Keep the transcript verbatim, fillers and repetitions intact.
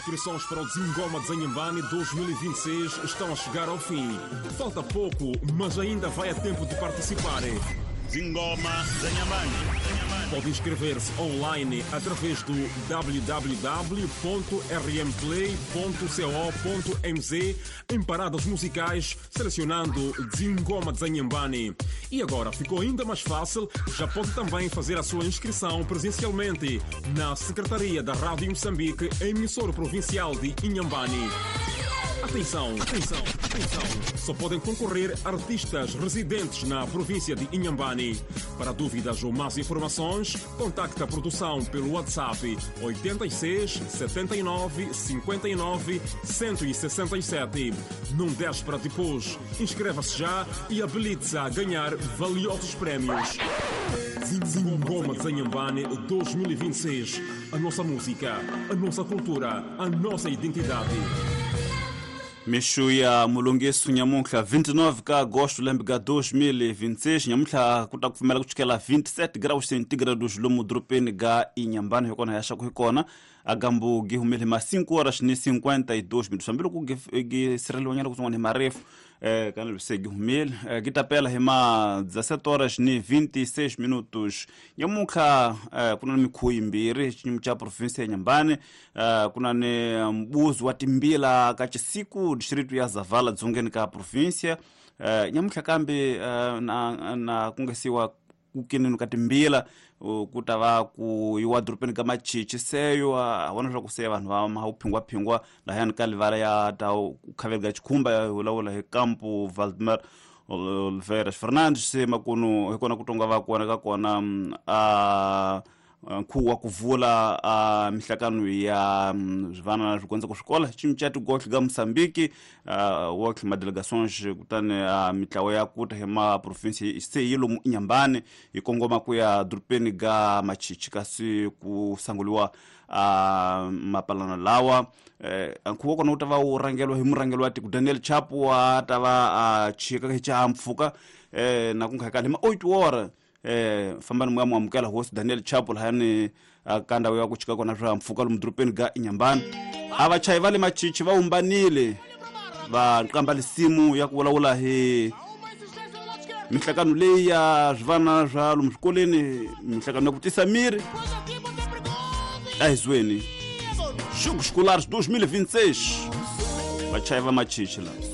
Inscrições para o Zingoma de Inhambane dois mil e vinte e seis estão a chegar ao fim. Falta pouco, mas ainda vai a tempo de participar. Zingoma de Inhambane. Pode inscrever-se online através do w w w ponto r m play ponto co ponto m z em paradas musicais, selecionando Zingoma de Inhambane. E agora ficou ainda mais fácil, já pode também fazer a sua inscrição presencialmente na Secretaria da Rádio Moçambique, emissora provincial de Inhambane. Atenção, atenção, atenção! Só podem concorrer artistas residentes na província de Inhambane. Para dúvidas ou mais informações, contacte a produção pelo WhatsApp oitenta e seis, setenta e nove, cinquenta e nove, cento e sessenta e sete. Não deixe para depois. Inscreva-se já e habilite-se a ganhar valiosos prémios. Zingoma de Inhambane dois mil e vinte e seis. A nossa música, a nossa cultura, a nossa identidade. Mexo ya mulongesu nyamuntlha vinte e nove ka agosto lembe ka dois mil e vinte e seis nyamuntlha ku ta kupfumela ku chukela vinte e sete graus centígrados lomu dorobeni ga Inhambane hi kona ya xa ku hi kona agambu gi humele ma cinco horas ni cinquenta e dois minutos hambiloko gi sirheliwanyana kutsongwana hi marefu eh kana se gi humele gi ta pela hi ma dezessete horas ni vinte e seis minutos nyamuntlha ku na mikhuvo yimbirhi xinyimi xa province ya Inhambane ku na ni mbuzo wa timbila ka Chisiku distrito ya Zavala dzongeni ka província nyamuntlha kambe na na ku nga siwa ku keneni ka timbila ku ta va ku yiwa dorobeni ka Machichi seyo a vona leswaku se vanhu va maphingwaphingwa lahayani ka livala ya ta ku khaveli ka Chikhumba ya vulavula hi Campo Valdemar Oliveira Fernandes se makunu hi kona ku tonga va kona ka kona a nkhuvo wa ku vula a mihlakano ya zvana swi ku swikola xinca tigotlhe ka Moçambique wa tlhima delegations kutani mitlawa ya kuta hi ma province se yi lomu Inhambane hi kongoma ku ya dorobeni ga Machichi kasi ku sanguliwa a mapalano lawa nkhuvo kona wu ta va wu rhangeriwa hi murhangeri wa tiko Daniel Chapo wa ta va a chika hi xihahampfhuka na ku nga hi ma oito hora eh fambani moya muamukela hosi Daniel Chapo lahayani ka ndhawu ya ku chika kona swihahampfhuka lomu dorobeni ga Inhambane a vachayi va le Machichi va humbanile va qamba lisimu ya ku vulavula hi mihlakano leyi ya swivana swa lomu swikolweni mihlakano ya ku tisa miri a hi zweni Jogos Escolares dois mil e vinte e seis vachayi va Machichi la.